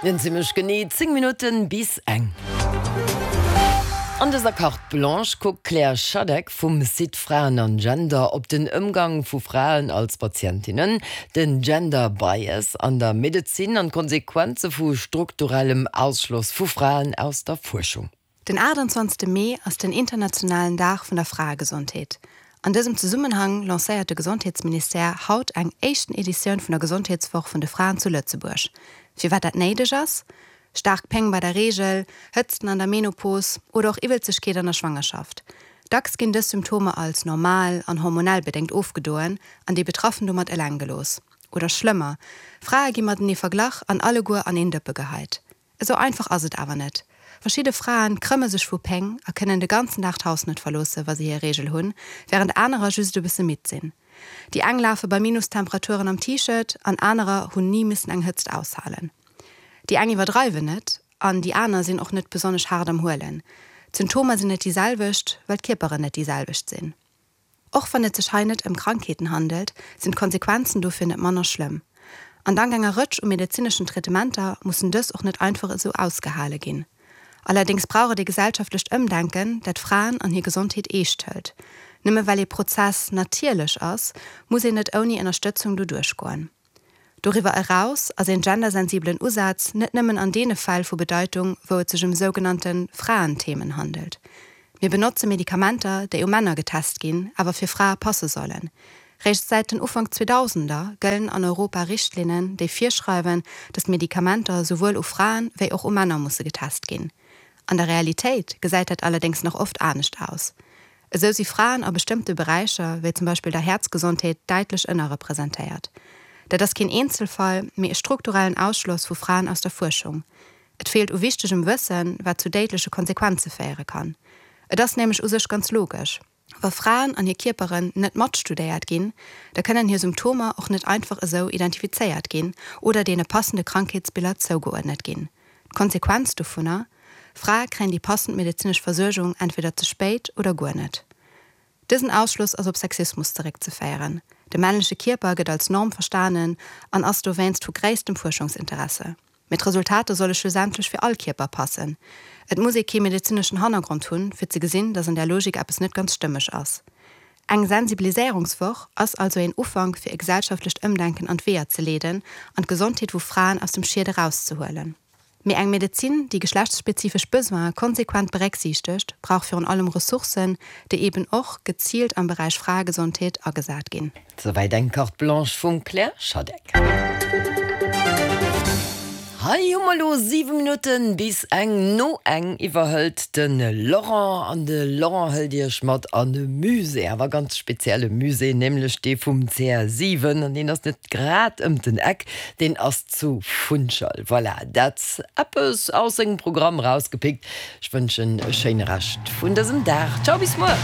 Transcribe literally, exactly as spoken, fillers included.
Den zimmlech genee zéng Minutten bis eng. An dëser Carte Blanche kuckt d'Claire Schadeck vum Site Fraen an Gender op den Ëmgang vu Fraen als Patientinnen, den Gender Bias an der Medezin an d'Konsequenze vu strukturellem Ausschloss vu Fraen aus der Fuerschung. Den achttanzwanzegste Mee ass den internationalen Dag vun der Fraegesondheet. An dësem Zesummenhang lancéiert de Gesondheetsministère haut eng éischten Editioun vun der Gesondheetswoch vun de Fraen zu Lëtzebuerg. Firwat dat néideg ass? Staark Péng bei der Reegel, Hëtzten an der Menopos oder och Iwwelzegkeet an der Schwangerschaft. Dacks ginn dës Symptomer als normal an hormonell bedéngt ofgedoen an déi Betraffen domat eleng gelooss. Oder schlëmmer, Frae gi matenee verglach an alleguer an een Dëppe geheit. Esou einfach ass et awer net. Verschidde Fraen krëmme sech vu Péng a kënnen de ganzen Dag d'Haus net verloosse wa si hir Reegel hunn, wärend anerer just e bësse midd sinn. Déi eng lafe bei Minustemperaturen am T-Shirt an anerer hunn ni missen eng Hëtzt aushalen. Déi eng iwwerdreiwen net an déi aner sinn och net besonnesch haart am Huelen. D'Symptomer sinn net déi selwecht, well d'Kierperen net déi selwecht sinn. Och wann et sech hei net ëm Krankheeten handelt, sinn d'Konsequenzen dofir net manner schlëmm. An dank enger Rëtsch u medezineschen Traitementer mussen dës och net einfach esou ausgehale ginn. Allerdéngs brauch et e gesellschaftlecht Ëmdenken, dat Fraen an hir Gesondheet eescht hëlt. Nëmme well ee Prozess natierlech ass, muss een net ouni Ënnerstëtzung doduerch goen. Doriwwer eraus ass een gendersensibelen Usaz net nëmmen an deene Fäll vu Bedeitung, wou et sech ëm sougenannte Fraenthemen handelt. Mir benotze Medikamenter, déi u Männer getest ginn, awer fir Frae passe sollen. Réischt säit den Ufank Zweedausender gëllen an Europa Richtlinnen, déi virschreiwen, datt Medikamenter souwuel u Fraen wéi och u Männer musse getest ginn. An der Realitéit gesäit dat allerdéngs nach oft anescht aus. Esou si Fraen a bestëmmte Beräicher, wéi zum Beispill der Häerzgesondheet, däitlech ënnerrepresentéiert. Dat ass keen Eenzelfall, mee e strukturellen Ausschloss vu Fraen aus der Fuerschung. Et feelt u wichtegem Wëssen, wat zu déidleche Konsequenze féiere kann. Et ass nämlech u sech ganz logesch, Wa Fraen an hir Kierperen net matstudéiert ginn, da kënnen hir Symptomer och net einfach esou identifizéiert ginn oder deene passende Krankheetsbiller zougeuerdnet ginn. D'Konsequenz dovunner, Frae kréien déi passend medezinesch Versuergung entweder ze spéit oder guer net. Dësen Ausschloss ass op Sexismus zeréckzeféieren. De männleche Kierper gëtt als Norm verstanen an ass dowéinst vu gréisstem Fuerschungsinteresse. Mee d'Resultater solle schlussendlech fir all Kierper passen. Et muss ee kee medezineschen Hannergrond hunn, fir ze gesinn, datt an där Logik eppes net ganz stëmmeg ass. Eng Sensibiliséierungswoch ass also een Ufank, fir e gesellschaftlecht Ëmdenken an d'Weeër ze leeden an d'Gesondheet vu Fraen aus dem Schied erauszehuelen. Mee eng Medezin, déi geschlechtsspezifesch Besoine konsequent berécksiichtegt, brauch virun allem Ressourcen, déi eben och geziilt am Beräich Fraegesondheet agesat ginn. Souwäit eng Carte Blanche vum Claire Schadeck. Hei hu mer elo siwe Minutten bis eng no eng. Iwwerhëlt de Laurent an de Laurent hëlt Iech mat an e Musée, awer ganz spezielle Musée, nämlech dee vum C R siwen an deen ass net grad ëm den Eck, deen ass zu Funchal. Voilà, dat eppes aus sengem Programm rausgepickt. Ech wënschen e schéine Rescht vun dësem Dag. Ciao bis muer!